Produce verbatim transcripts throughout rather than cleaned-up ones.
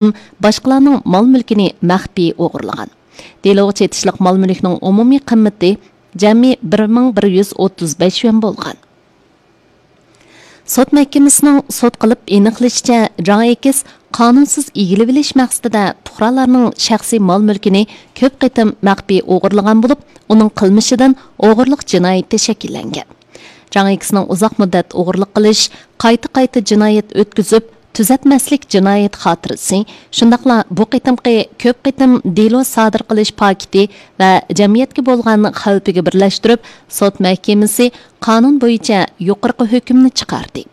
باشقىلارنىڭ مال-مۈلكىنى مەخپىي ئوغرىلىغان. دېلوغا چېتىشلىق مال-مۈلۈكنىڭ ئومۇمىي قىممىتى جەمئىي بىر مىڭ بىر يۈز ئوتتۇز بەش يۈەن بولغان. سوت مەھكىمىسىنىڭ سوت قىلىپ ئېنىقلىشىچە، جاڭ ئېكس قانۇنسىز ئىگىلىۋېلىش مەقسىتىدە پۇقرالارنىڭ شەخسىي مال-مۈلكىنى كۆپ قېتىم مەخپىي ئوغرىلىغان بولۇپ، ئۇنىڭ قىلمىشىدىن ئوغرىلىق جىنايىتى شەكىللەنگەن. جاڭ ئېكسنىڭ ئۇزاق مۇددەت ئوغرىلىق قىلىش، قايتا-قايتا جىنايەت ئۆتكۈزۈپ، تۈزەتمەسلىك جىنايەت خاتىرىسى، شۇنداقلا بۇ قېتىمقى كۆپ قېتىم دېلو سادىر قىلىش پاكىتى ۋە جەمئىيەتكە بولغان خەۋپىگە بىرلەشتۈرۈپ، سوت مەھكىمىسى قانۇن بويىچە يۇقىرىقى ھۆكۈمنى چىقاردى.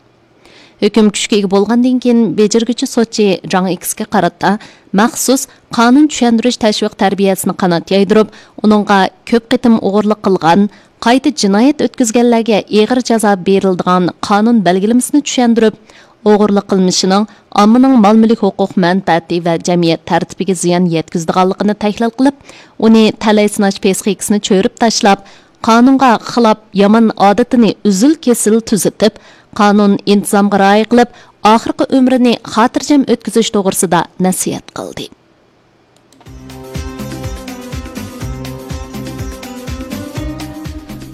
ھۆكۈم كۈچكە ئىگە بولغاندىن كېيىن، بېجىرگۈچى سوتچى جاڭ ئېكسكە قارىتا مەخسۇس قانۇن چۈشەندۈرۈش تەشۋىق تەربىيەسىنى قانات يايدۇرۇپ، ئۇنىڭغا كۆپ قېتىم ئوغرىلىق قىلغان، قايتا جىنايەت ئۆتكۈزگەنلەرگە ئېغىر جازا بېرىلىدىغان قانۇن بەلگىلىمىسىنى چۈشەندۈرۈپ، ئوغرىلىق قىلمىشىنىڭ ئاممىنىڭ مال-مۈلۈك ھوقۇق مەنپەئەتى ۋە جەمئىيەت تەرتىپىگە زىيان يەتكۈزىدىغانلىقىنى تەھلىل قىلىپ، ئۇنى تەلەي سىناش پىسخىكىسىنى چۆرۈپ تاشلاپ، قانۇنغا خىلاپ يامان ئادىتىنى ئۈزۈل-كېسىل تۈزىتىپ، قانۇن ئىنتىزامغا رىئايە قىلىپ، ئاخىرقى ئۆمرىنى خاتىرجەم ئۆتكۈزۈش توغرىسىدا نەسىھەت قىلدى.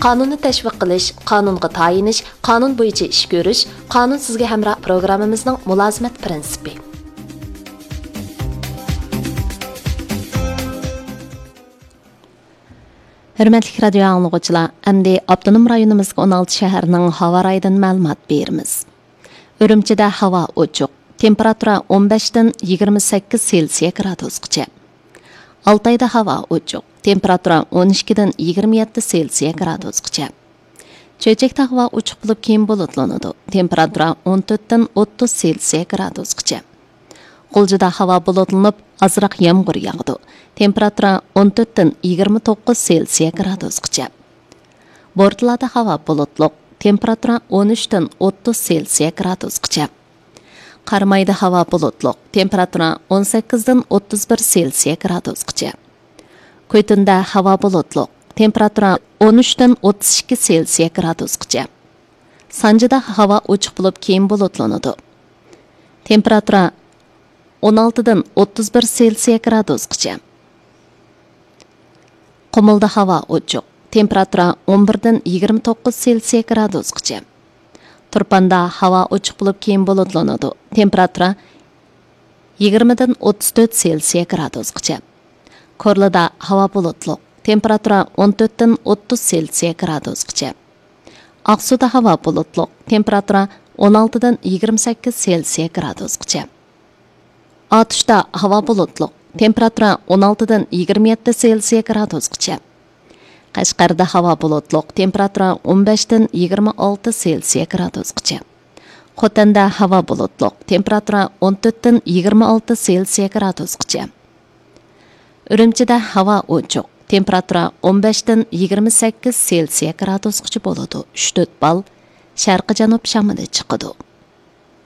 قانۇننى تەشۋىق قىلىش، قانۇنغا تايىنىش، قانۇن بويىچە ئىش كۆرۈش، قانۇن سىزگە ھەمراھ پروگراممىمىزنىڭ مۇلازىمەت پىرىنسىپى. ھۆرمەتلىك رادىيو ئاڭلىغۇچىلار، ئەمدى ئاپتونوم رايونىمىزدىكى ئون ئالتە شەھەرنىڭ ھاۋا رايىدىن مەلۇمات بېرىمىز. ئۈرۈمچىدە ھاۋا ئوچۇق، تېمپېراتۇرا ئون بەشتىن يىگىرمە سەككىز سېلسىيە گرادۇسقىچە. ئالتايدا ھاۋا ئوچۇق، تېمپېراتۇرا ئون ئىككىدىن يىگىرمە يەتتە سېلسىيە گرادۇسقىچە. چۆچەكتە ھاۋا ئوچۇق بولۇپ، كېيىن بۇلۇتلىنىدۇ، تېمپېراتۇرا ئون تۆتتىن ئوتتۇز سېلسىيە گرادۇسقىچە. غۇلجىدا ھاۋا بۇلۇتلىنىپ، ئازراق يامغۇر ياغىدۇ، تېمپېراتۇرا ئون تۆتتىن يىگىرمە توققۇز سېلسىيە گرادۇسقىچە. بورتالادا ھاۋا بۇلۇتلۇق، تېمپېراتۇرا ئون ئۈچتىن ئوتتۇز سېلسىيە گرادۇسقىچە. قارامايدا ھاۋا بۇلۇتلۇق، تېمپېراتۇرا ئون سەككىزدىن ئوتتۇز بىر سېلسىيە گرادۇسقىچە. كۈيتۇندا ھاۋا بۇلۇتلۇق، تېمپېراتۇرا ئون ئۈچتىن ئوتتۇز ئىككى سېلسىيە گرادۇسقىچە. سانجىدا ھاۋا ئوچۇق بولۇپ، كېيىن بۇلۇتلىنىدۇ، تېمپېراتۇرا ئون ئالتىدىن ئوتتۇز بىر سېلسىيە گرادۇسقىچە. قۇمۇلدا ھاۋا ئوچۇق، تېمپېراتۇرا ئون بىردىن يىگىرمە توققۇز سېلسىيە گرادۇسقىچە. تۇرپاندا ھاۋا ئوچۇق بولۇپ، كېيىن بۇلۇتلىنىدۇ، تېمپېراتۇرا يىگىرمىدىن ئوتتۇز تۆت سېلسىيە گرادۇسقىچە. كورلىدا ھاۋا بۇلۇتلۇق، تېمپېراتۇرا ئون تۆتتىن ئوتتۇز سېلسىيە گرادۇسقىچە. ئاقسۇدا ھاۋا بۇلۇتلۇق، تېمپېراتۇرا ئون ئالتىدىن يىگىرمە سەككىز سېلسىيە گرادۇسقىچە. ئاتۇشتا ھاۋا بۇلۇتلۇق، تېمپېراتۇرا ئون ئالتىدىن يىگىرمە يەتتە سېلسىيە گرادۇسقىچە. قەشقەردە ھاۋا بۇلۇتلۇق، تېمپېراتۇرا ئون بەشتىن يىگىرمە ئالتە سېلسىيە گرادۇسقىچە. خوتەندە ھاۋا بۇلۇتلۇق، تېمپېراتۇرا ئون تۆتتىن يىگىرمە ئالتە سېلسىيە گرادۇسقىچە. ئۈرۈمچىدە ھاۋا ئوچۇق، تېمپېراتۇرا ئون بەشتىن يىگىرمە سەككىز سېلسىيە گرادۇسقىچە بولىدۇ، ئۈچ تۆت بال شەرقىي جەنۇب شامىلى چىقىدۇ.